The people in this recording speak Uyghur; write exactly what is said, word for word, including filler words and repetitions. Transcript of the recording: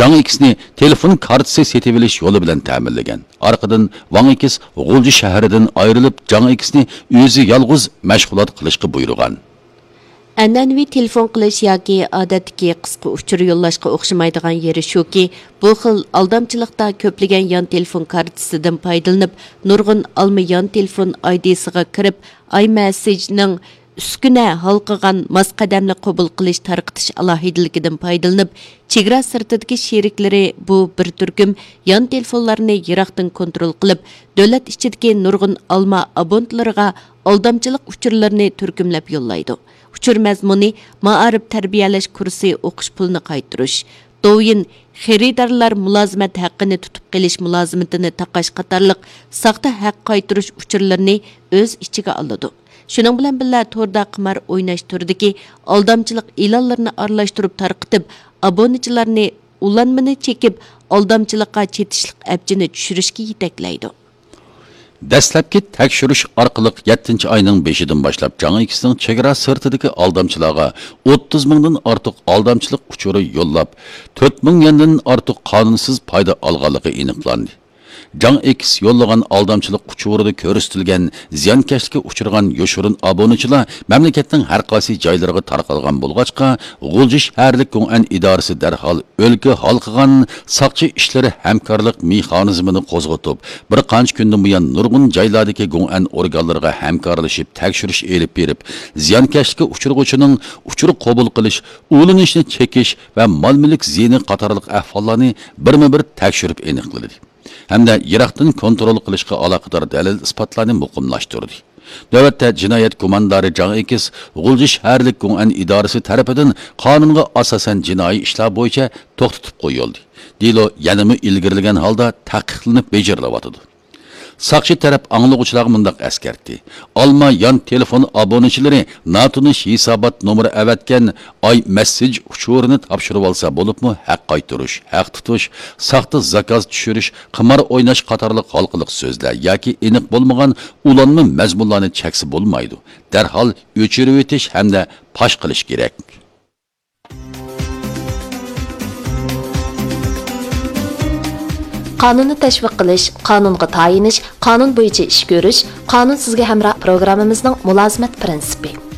جاڭ ئېكسنى تېلېفون كارتىسى سېتىۋېلىش يولى بىلەن تەمىنلىگەن. ئارقىدىن ۋاڭ ئېكس غۇلجى شەھىرىدىن ئايرىلىپ، جاڭ ئېكسنى ئۆزى يالغۇز مەشغۇلات قىلىشقا بۇيرۇغان. ئەنئەنىۋى تېلېفون قىلىش ياكى ئادەتتىكى قىسقا ئۇچۇر يوللاشقا ئوخشىمايدىغان يېرى شۇكى، بۇ خىل ئالدامچىلىقتا كۆپلىگەن يان تېلېفون كارتىسىدىن پايدىلىنىپ، نۇرغۇن ئالما يان تېلېفون ئايدىسىغا كىرىپ، ئاي مەسسېجنىڭ ئۈسكۈنە ھالقىغان ماس قەدەملىك قوبۇل قىلىش تارقىتىش ئالاھىدىلىكىدىن پايدىلىنىپ، چېگرا سىرتىدىكى شېرىكلىرى بۇ بىر تۈركۈم يان تېلېفونلارنى يىراقتىن كونترول قىلىپ، دۆلەت ئىچىدىكى نۇرغۇن ئالما ئابونتلىرىغا ئالدامچىلىق ئۇچۇرلىرىنى تۈركۈملەپ يوللايدۇ. ئۇچۇر مەزمۇنى مائارىپ تەربىيەلەش كۇرسى ئوقۇش پۇلىنى قايتۇرۇش، دوۋيىن خېرىدارلار مۇلازىمەت ھەققىنى تۇتۇپ قېلىش مۇلازىمىتىنى تاقاش قاتارلىق ساختا ھەق قايتۇرۇش ئۇچۇرلىرىنى ئۆز ئىچىگە ئالىدۇ. شۇنىڭ بىلەن بىللە، توردا قىمار ئويناش تۈرىدىكى ئالدامچىلىق ئېلانلىرىنى ئارىلاشتۇرۇپ تارقىتىپ، ئابۇنىچىلارنى ئۇلانمىنى چېكىپ، ئالدامچىلىققا چېتىشلىق ئەپچىنى چۈشۈرۈشكە يېتەكلەيدۇ. دەسلەپكى تەكشۈرۈش ئارقىلىق، يەتتىنچى ئاينىڭ بېشىدىن باشلاپ جاڭ ئېكسنىڭ چېگرا سىرتىدىكى ئالدامچىلارغا ئوتتۇز مىڭدىن ئارتۇق ئالدامچىلىق ئۇچۇرى يوللاپ، تۆت مىڭ يەندىن ئارتۇق قانۇنسىز پايدا ئالغانلىقى ئېنىقلاندى. جاڭ ئېكس يوللىغان ئالدامچىلىق ئۇچۇرىدا كۆرسىتىلگەن زىيانكەشلىككە ئۇچرىغان يوشۇرۇن ئابۇنىچىلار مەملىكەتنىڭ ھەر قايسى جايلىرىغا تارقالغان بولغاچقا، غۇلجا شەھەرلىك گوڭئەن ئىدارىسى دەرھال ئۆلكە ھالقىغان ساقچى ئىشلىرى ھەمكارلىق مېخانىزمىنى قوزغىتىپ، بىر قانچە كۈندىن بۇيان نۇرغۇن جايلاردىكى گوڭئەن ئورگانلىرىغا ھەمكارلىشىپ تەكشۈرۈش ئېلىپ بېرىپ، زىيانكەشلىككە ئۇچرىغۇچىنىڭ ئۇچۇر قوبۇل قىلىش، ئۇلىنىشنى چېكىش ۋە مال-مۈلۈك زىيىنى قاتارلىق ئەھۋاللارنى بىرمۇ بىر تەكشۈرۈپ ئېنىقلىدى. ھەمدە يىراقتىن كونترول قىلىشقا ئالاقىدار دەلىل-ئىسپاتلارنى مۇقىملاشتۇردى. نۆۋەتتە جىنايەت گۇماندارى جاڭ ئېكىس غۇلجا شەھەرلىك گوڭئەن ئىدارىسى تەرىپىدىن قانۇنغا ئاساسەن جىنايى ئىشلار بويىچە توختىتىپ قويۇلدى. دېلو يەنىمۇ ئىلگىرىلىگەن ھالدا تەھقىقلىنىپ بېجىرىلىۋاتىدۇ. ساقچى تەرەپ ئاڭلىغۇچىلارغا مۇنداق ئەسكەرتتى: ئالما يان تېلېفون ئابۇنىچىلىرى ناتونۇش ھېسابات نومۇرى ئەۋەتكەن ئاي مەسسېج ئۇچۇرىنى تاپشۇرۇۋالسا، بولۇپمۇ ھەق قايتۇرۇش، ھەق تۇتۇش، ساختا زاكاز چۈشۈرۈش، قىمار ئويناش قاتارلىق ھالقىلىق سۆزلەر ياكى ئېنىق بولمىغان ئۇلانما مەزمۇنلارنى چەكسە بولمايدۇ، دەرھال ئۆچۈرۈۋېتىش ھەمدە پاش قىلىش كېرەك. قانۇننى تەشۋىق قىلىش، قانۇنغا تايىنىش، قانۇن بويىچە ئىش كۆرۈش، قانۇن سىزگە ھەمراھ پروگراممىمىزنىڭ مۇلازىمەت پىرىنسىپى.